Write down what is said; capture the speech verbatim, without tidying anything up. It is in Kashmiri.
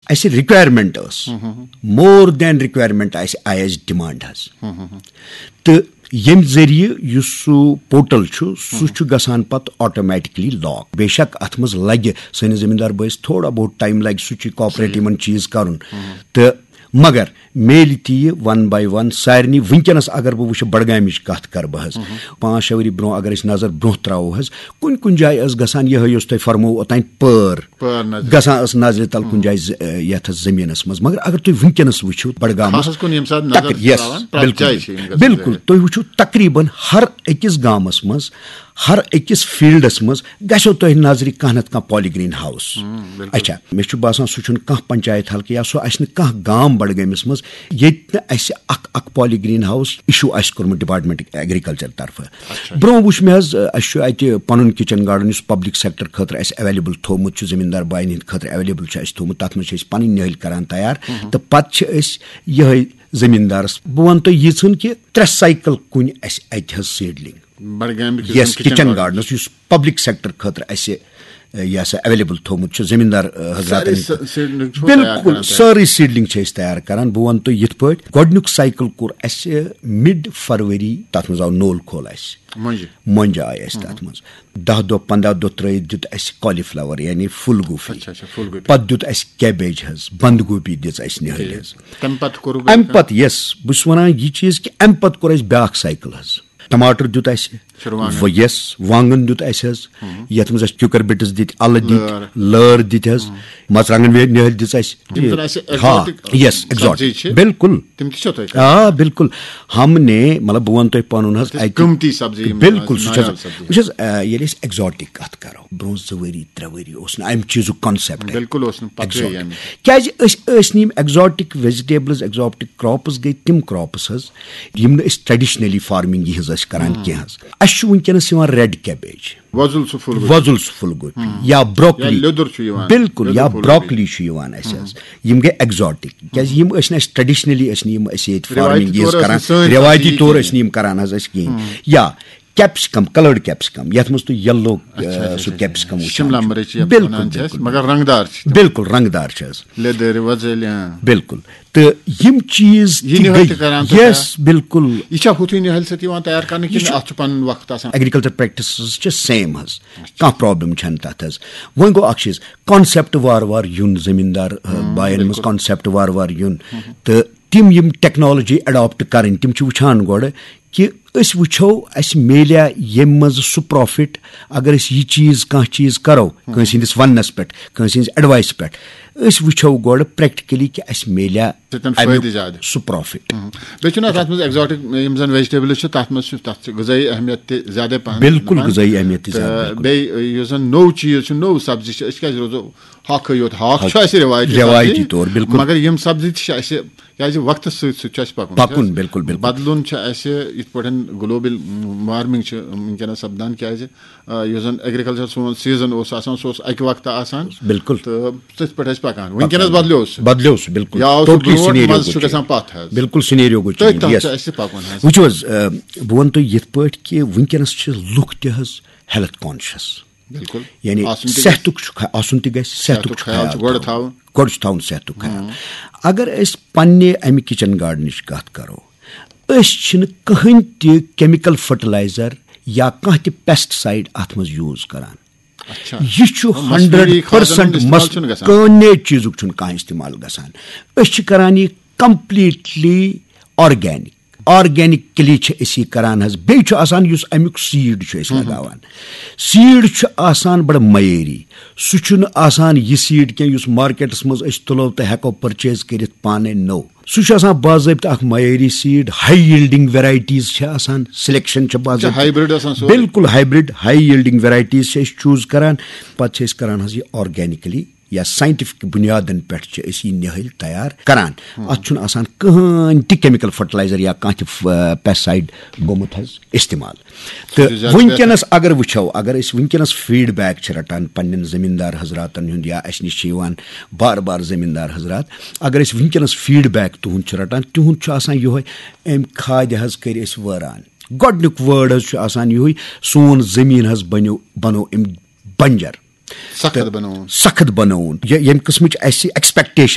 اَسہِ رِکویرمنٹ ٲس، مور دین رِکویرمنٹ اَسہِ آیہِ اَسہِ ڈِمانڈ حظ۔ تہٕ ییٚمہِ ذٔریعہٕ یُس سُہ پورٹل چھُ، سُہ چھُ گژھان پَتہٕ آٹومیٹکلی لاک۔ بے شک اَتھ منٛز لَگہِ سٲنِس زٔمیٖندار بٲیِس تھوڑا بہت ٹایم، لَگہِ سُہ چھُ کاپریٹ یِمَن چیٖز کَرُن۔ تہٕ مگر میلہِ تہِ یہِ ون باے ون سارنٕے۔ وٕنکیٚنَس اگر بہٕ وٕچھٕ بڈگامِچ کَتھ کَرٕ بہٕ حظ، پانٛژھ شےٚ ؤری برونٛہہ اگر أسۍ نظر برونٛہہ ترٛاوو حظ، کُنہِ کُنہِ جایہِ ٲس گژھان یِہوٚے یُس تۄہہِ فرموو اوٚتانۍ پٲر۔ پٲر نظر۔ گژھان ٲس نظرِ تل کُنہِ جایہِ ز-، یتھ زٔمیٖنس منٛز۔ مگر اگر تُہۍ وٕنکیٚنس وٕچھِو بڈگامس، خاصس کُن ییٚمہِ ساتہٕ نظر تک-، چھِ yes، تراوان، پرٛٮ۪تھ بِلکُل، جایہِ چھِ یِم گژھان بِلکُل۔ ظٲہِر۔ تُہۍ وٕچھِو تقریباً ہر أکِس گامس منٛز، ہر أکِس فیلڈس منٛز گژھیو تۄہہِ نظرِ کانٛہہ نتہٕ کانٛہہ پالی گرین ہاوس۔ ہم، بِلکُل۔ اچھا، مےٚ چھُ باسان سُہ چھُنہٕ کانٛہہ پنچایت حلقہٕ یا سُہ آسہِ نہٕ کانٛہہ گام بڈگٲمِس منٛز ییٚتہِ نہٕ اَسہِ اکھ اکھ پالی گرین ہاوس issue آسہِ کوٚرمُت ڈپارٹمنٹ ایگریکلچر طرفہٕ۔ اچھا۔ برونٛہہ وٕچھ مےٚ حظ، اَسہِ چھُ اَتہِ پَنُن کِچن گارڈن یُس پبلک سیکٹر خٲطرٕ اَسہِ ایویلیبل تھوٚومُت چھُ، زٔمیٖندار باین ہِنٛدِ خٲطرٕ ایویلیبل چھُ اَسہِ تھوٚومُت، تَتھ منٛز چھِ أسۍ پَنٕنۍ نِہٲلۍ کران تیار۔ تہٕ پَتہٕ چھِ أسۍ یِہوٚے زٔمیٖندارَس، بہٕ وَنہٕ تۄہہِ یِژھن کہِ ترٛےٚ سایکل کُنہِ اَسہِ اَتہِ حظ سیٖڈلِنگ۔ بڈگامہِ کِس یَس زَن کِچن کِچن گارڈنَس۔ گارڈنَس، یُس پبلک سیکٹر خٲطرٕ اَسہِ، یہِ ہسا ایویلیبل تھوٚومُت چھُ زٔمیٖندار، حضراتن۔ سٲرٕے س-، سیٖڈلِنگ چھُوا تیار بِلکُل، کران تیار؟ سٲرٕے سیٖڈلِنگ چھِ أسۍ تیار کران۔ بہٕ وَنہٕ تۄہہِ یِتھ پٲٹھۍ، گۄڈٕنیُک سایکل کوٚر اَسہِ مِڈ فروری، تَتھ منٛز آو نول کھول اَسہِ۔ مۄنجہِ۔ مۄنجہِ آیہِ اَسہِ تَتھ منٛز۔ دَہ دۄہ، پنٛداہ دۄہ ترٛٲوِتھ دیُت اَسہِ کالی فلاور، یعنی پھُل گوٗپی۔ اچھا، اچھا، پھُل گوٗپی۔ پَتہٕ دیُت اَسہِ کیبیج حظ، بنٛد گوٗپی دِژ اَسہِ نِہٲلۍ حظ۔ تَمہِ پَتہٕ کوٚروٕ اَمہِ پَتہٕ، یَس، بہٕ چھُس وَنان، یہِ چیٖز کہِ اَمہِ پَتہٕ کوٚر اَسہِ بیٛاکھ سایکل حظ۔ ٹماٹر دیُت اَسہِ، چھِ رُوانٛگن۔ و-، یَس، وانٛگن دیُت اَسہِ حظ، یَتھ منٛز اَسہِ کیوٗکر بِٹٕس دِتۍ، اَلہٕ دِتۍ، لٲر۔ لٲر دِتۍ حظ، مَرژٕوانٛگن وے-، نِہٲلۍ دِژ اَسہِ۔ یِم زَن اَسہِ ہاں، ایگزاٹک یَس، سبزی ایگزاٹک۔ چھِ، بِلکُل۔ تِم تہِ چھا تۄہہِ کران؟ آ، بِلکُل۔ ہم نے، مطلب، بہٕ وَنہٕ تۄہہِ پَنُن حظ، تِم اَتہِ قۭمتی سبزی، یِم بِلکُل، سُہ چھُ حظ، نایاب سبزی۔ وٕچھ حظ، آ، ییٚلہِ أسۍ ایگزاٹک کَتھ کَرو، برونٛہہ زٕ ؤری، ترٛےٚ ؤری اوس نہٕ اَمہِ چیٖزُک کانسیپٹ۔ بِلکُل اوس نہٕ پَتہٕے ایگزاٹک۔ یعنی۔ کیٛازِ أسۍ ٲسۍ نہٕ یِم ایگزاٹک ویجیٹیبلز، ایگزاٹک کراپس گٔے تِم کراپس حظ، یِم نہٕ أسۍ ٹریڈیشنلی فارمنگ یِہنٛز ٲسۍ کران کینٛہہ حظ۔ اَسہِ چھُ وٕنکیٚنَس یِوان ریڈ کیبیج، وۄزُل سُہ پھُل گوٗپی۔ وۄزُل سُہ پھُل گوٗپی۔ یا یا بروکلی۔ لیٚدُر چھُ یِوان، بِلکُل، لیٚدُر یا پھُل گوٗپی۔ بروکلی چھُ یِوان اَسہِ حظ۔ یِم گٔے ایگزاٹک، کیٛازِ یِم ٲسۍ نہٕ اَسہِ ٹریڈیشنلی، ٲسۍ نہٕ یِم أسۍ ییٚتہِ رِوایتی فارمنگ یِہنٛز طور ٲس کران۔ نہٕ سٲنۍ رِوایتی سبزی طور کِہیٖنۍ۔ ٲسۍ نہٕ یِم کران حظ اَسہِ کِہیٖنۍ۔ یا کیپسکم، کلٲرڈ کیپسکم، یَتھ منٛز تُہۍ یَلو، اچھا، اچھا، سُہ اچھا۔ کیپسکم وٕچھان شملہ چھِو۔ مرٕچ یَتھ بِلکُل، وَنان چھِ أسۍ، بِلکُل۔ مگر رنٛگدار چھِ تِم۔ بِلکُل رنٛگدار چھِ حظ۔ لیٚدٕرۍ، وۄزٕلۍ، اۭں۔ بِلکُل۔ تہٕ یِم چیٖز یہِ تہِ نِہٲلۍ گٔے۔ تہِ کران تہٕ یَس، بِلکُل۔ یہِ چھا ہُتھُے نِہٲلۍ سۭتۍ یِوان تیار کرنہٕ یہِ کِنہٕ چھُ اَتھ چھُ پَنُن وقت آسان؟ ایگریکلچر پریکٹسز چھِ سیم حظ، کانٛہہ پرابلم چھَنہٕ تَتھ حظ۔ وۄنۍ گوٚو اَکھ چیٖز، کانسیپٹ وارٕ وارٕ یُن زٔمیٖندار، آ، ہم، باین منٛز بِلکُل۔ کانسیپٹ وارٕ وارٕ یُن۔ تہٕ تِم یِم ٹیکنالوجی اڈاپٹ کرٕنۍ، تِم چھِ وٕچھان گۄڈٕ کہِ أسۍ وٕچھو اَسہِ میلیٛا ییٚمہِ منٛز سُہ پرافٹ، اگر أسۍ یہِ چیٖز، کانٛہہ چیٖز کرو کٲنٛسہِ ہٕنٛدِس وننس پٮ۪ٹھ، کٲنٛسہِ ہٕنٛزِ ایڈوایس پٮ۪ٹھ، أسۍ وٕچھو گۄڈٕ پریکٹیکلی کہِ اَسہِ میلیٛا سۭتۍ اَمیُک فٲیدٕ زیادٕ۔ سُہ پرافٹ۔ ہم۔ بیٚیہِ چھُنہٕ اَتھ، اَتھ منٛز ایگزاٹک یِم زَن ویجیٹیبلز چھِ، تَتھ منٛز چھُ، تَتھ چھِ غذٲیی اہمیت تہِ زیادَے پَہَن بِلکُل، دِوان۔ غذٲیی اہمیت تہِ تہٕ زیادٕ، بِلکُل۔ بیٚیہِ یُس زَن نوٚو چیٖز چھُ، نوٚو سبزی چھِ، أسۍ کیٛازِ روزو ہاکھٕے یوت؟ ہاکھ چھُ اَسہِ رِوایتی رِوایتی سبزی، طور، بِلکُل۔ مگر یِم سبزی تہِ چھِ اَسہِ، کیٛازِ وقتَس سۭتۍ سۭتۍ چھُ اَسہِ پَکُن۔ پَکُن، بِلکُل، بِلکُل۔ بدلُن چھُ اَسہِ یِتھ پٲٹھۍ گلوبل وارمنگ چھِ وٕنکیٚنَس سَپدان، کیٛازِ آ، یُس زَن ایگریکلچر سون سیزن اوس آسان، سُہ اوس اَکہِ وقتہٕ آسان۔ بِلکُل۔ تہٕ تٔتھۍ پٮ۪ٹھ ٲسۍ پَکان۔ وٕنکیٚنَس بدلیو سُہ۔ بدلیو سُہ، بِلکُل۔ یا اوس سُہ ٹوٹلی برونٛٹھ، سِنیریو منٛز گوٚو چھُ چینج۔ گژھان پَتھ حظ۔ بِلکُل، سِنیریو گوٚو تٔتھۍ چینج۔ تَتھ یَس۔ چھُ اَسہِ پَکُن حظ۔ وٕچھِو حظ، آ، بہٕ وَنہٕ تۄہہِ یِتھ پٲٹھۍ کہِ وٕنکیٚنَس چھِ لُکھ تہِ حظ ہیلتھ کانشیس۔ بِلکُل۔ یعنی آسُن تہِ گژھِ۔ صحتُک چھُ خ-، آسُن تہِ گژھِ، صحتُک صحتُک چھُ خیال خیال چھُ گۄڈٕ تھاوُن۔ تھاوُن۔ گۄڈٕ چھُ تھاوُن صحتُک خیال۔ ہُم۔ اگر أسۍ پننہِ اَمہِ کِچن گارڈنٕچ کَتھ کَرو، أسۍ چھِنہٕ کٕہٕنۍ تہِ کیمیکل فرٹیلائزر یا کانٛہہ تہِ پیسٹ سائیڈ اَتھ منٛز یوٗز کران۔ اچھا۔ یہِ چھُ مصنوعی ہنڈریڈ پرسنٹ کھادن ہُنٛد استعمال چھُنہٕ گژھان۔ کٕہٕنۍ چیٖزُک چھُنہٕ کانٛہہ استعمال گژھان۔ أسۍ چھِ کران یہِ کمپلیٹلی آرگینک۔ آرگینکلی چھِ أسۍ یہِ کران حظ۔ بیٚیہِ چھُ آسان یُس اَمیُک سیٖڈ چھُ أسۍ لگاوان۔ سیٖڈ چھُ آسان بڑٕ معیٲری۔ سُہ چھُنہٕ آسان یہِ سیٖڈ کینٛہہ یُس مارکیٹس منٛز أسۍ تُلو تہٕ ہٮ۪کو پرچیز کٔرِتھ پانے۔ نو، سُہ چھُ آسان باضٲبطہٕ اکھ معیٲری سیٖڈ، ہاے ییلڈنگ ویرایٹیز چھِ آسان، سلیکشن چھِ باضٲبطہٕ۔ ہائیبرڈ آسان سورُے۔ بِلکُل ہائیبرڈ، ہاے ییلڈنگ ویرایٹیز چھِ أسۍ چوٗز کران۔ پتہٕ چھِ أسۍ کران حظ یہِ آرگینکلی یا سائنٹیفک بنیادن پٮ۪ٹھ چھِ أسۍ یہِ نِہٲلۍ تیار کران۔ اتھ چھُنہٕ آسان کٕہٕنۍ تہِ کیمیکل فرٹیلائزر یا کانٛہہ تہِ، آ، پیسٹ سائیڈ گوٚمُت حظ استعمال۔ تہٕ سُہ چھُ زیادٕ وٕنکیٚنَس بہتر۔ اگر وٕچھو، اگر أسۍ وٕنکیٚنَس فیٖڈ بیک چھِ رَٹان پننٮ۪ن زٔمیٖندار حضراتَن ہُنٛد یا اَسہِ نِش چھِ یِوان بار بار زٔمیٖندار حضرات، اگر أسۍ وٕنکیٚنَس فیٖڈ بیک تُہُنٛد چھِ رَٹان، تِہُنٛد چھُ آسان یِہوٚے، أمۍ کھادِ حظ کٔرۍ أسۍ وٲران۔ گۄڈٕنیُک وٲرڈ حظ چھُ آسان یِہوٚے، سون زٔمیٖن حظ بنیو، بنوو أمۍ بنجر۔ سخت تہٕ بنووُن۔ سخت بنووُن۔ یہِ، ییٚمہِ قٕسمٕچ اَسہِ ایکسپیکٹیشن